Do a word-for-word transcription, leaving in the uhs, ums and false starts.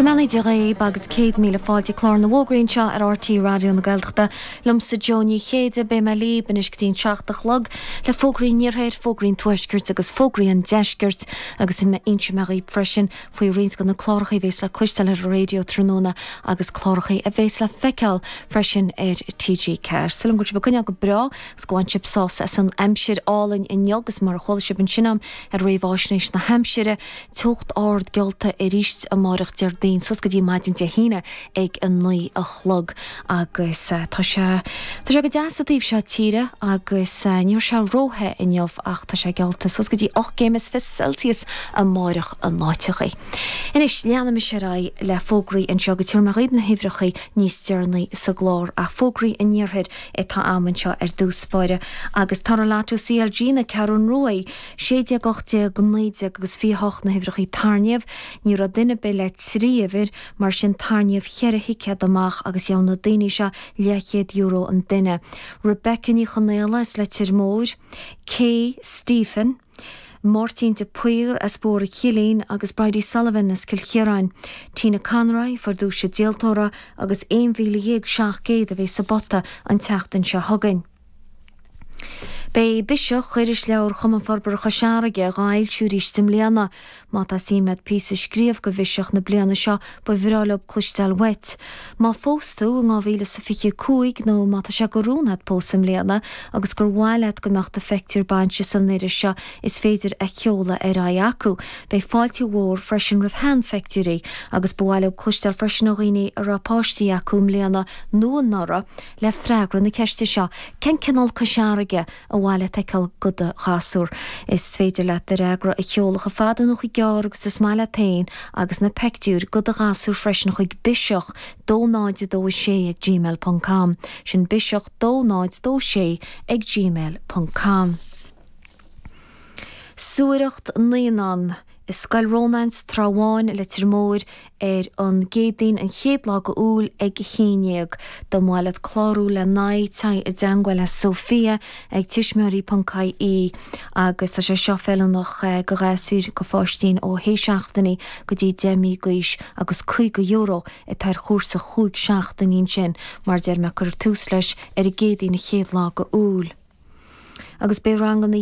Go mbeannaí Dia dhaoibh agus céad míle fáilte clár na bhfógraí anseo ar RTÉ Raidió na Gaeltachta. Liomsa Joe Ní Chéide beidh mé libh anois go dtí an seacht a chlog le fógraí an iarthair, fógraí an tuaiscirt agus fógraí an deiscirt agus inseoidh mé dhaoibh freisin faoi roinnt de na cláracha a bheas le cloisteáil ar an raidió tráthnóna agus cláracha a bheas le feiceáil freisin ar TG Ceathair. Súil agam go bhfuil sibh ag coinneáil go breá agus go bhain sibh sásamh as an aimsir álainn inniu agus mar a chuala sibh ansin agam ar réamhaisnéis na haimsire, teocht ard geallta arís amárach Déardaoin suas go dtí maidin Dé hAoine ag a naoi a chlog agus uh, tá sé Tá sé go deas sa taobh seo tíre agus uh, níl sé róthe inniu ach tá sé geallta suas go dtí ocht gcéim is fiche Celsius amárach in áiteachaí. Anois leanaimis ar aghaidh le fógraí anseo go dtabharfaidh mé dhaoibh na huimhreacha níos deireanaí sa gclár ach fógraí an iarthair atá agam anseo ar dtús báire agus Tairngreacht CLG na Ceathrún Rua sé déag ocht déag naoi déag agus fiche hocht na huimhreacha tairngreacht, ní raibh duine ar bith le trí uimhir mar sin tarraingíodh ceithre thicéad amach agus gheobhaidh na daoine seo leathchéad euro an duine. Rebecca Ní Chonaola as Leitir Móir, Kay Stephen, Máirtín de Paor as Bór Chillín agus Bridie Sullivan as Cill Chiaráin. Tina Conroy fuair duais díoltóra agus aon mhíle dhéag seacht gcéad a bheidh sa bpota an tseachtain seo chugainn. Beidh Biseach irisleabhar Chumann Forbartha Chois Fharraige á fhoilsiú arís i mbliana. Má tá suim agat píosa a scríobh go Bhiseach na bliana seo ba bhreá leo cloisteáil uait. Má phós tú in dhá mhíle is fiche cúig nó má tá sé de rún agat pósadh i mbliana agus gur mhaith leat go mbeadh do phictiúr bainse san iris seo is féidir a sheoladh ar aghaidh acu. Beidh fáilte mhór freisin roimh sheanphictiúirí agus ba mhaith leo cloisteáil freisin ó dhaoine a raibh páistí acu i mbliana nó anuraidh le freagra na ceiste seo. Cén cineál Cois Fharraige a mhaith leat a fheiceáil do do ghasúr. Is féidir leat do fhreagra a sheoladh chomh fada nó chomh gearr agus is maith leat féin agus na pictiúir do do ghasúr freisin chuig biseach dó náid dó sé ag gmail.com sin biseach dó náid dó sé ag gmail.com. Suaireacht naíonán i Scoil Rónáin sa Trá Bháin Leitir Móir ar an gCéadaoin an chéad lá d'Iúil ag a haon déag. Dá mba mhaith leat clárú le n-aghaidh téigh i dteagmháil le Sophia ag tuismitheoirí.ie agus tá sé seo feiliúnach go ghasúir go pháistí ó shé seachtainí go dtí deich mí d'aois agus caoga euro atá ar chúrsa chúig seachtainí sin mar deir mé cuirfear tús leis ar an gCéadaoin an chéad lá d'Iúil. Agus beidh ranganna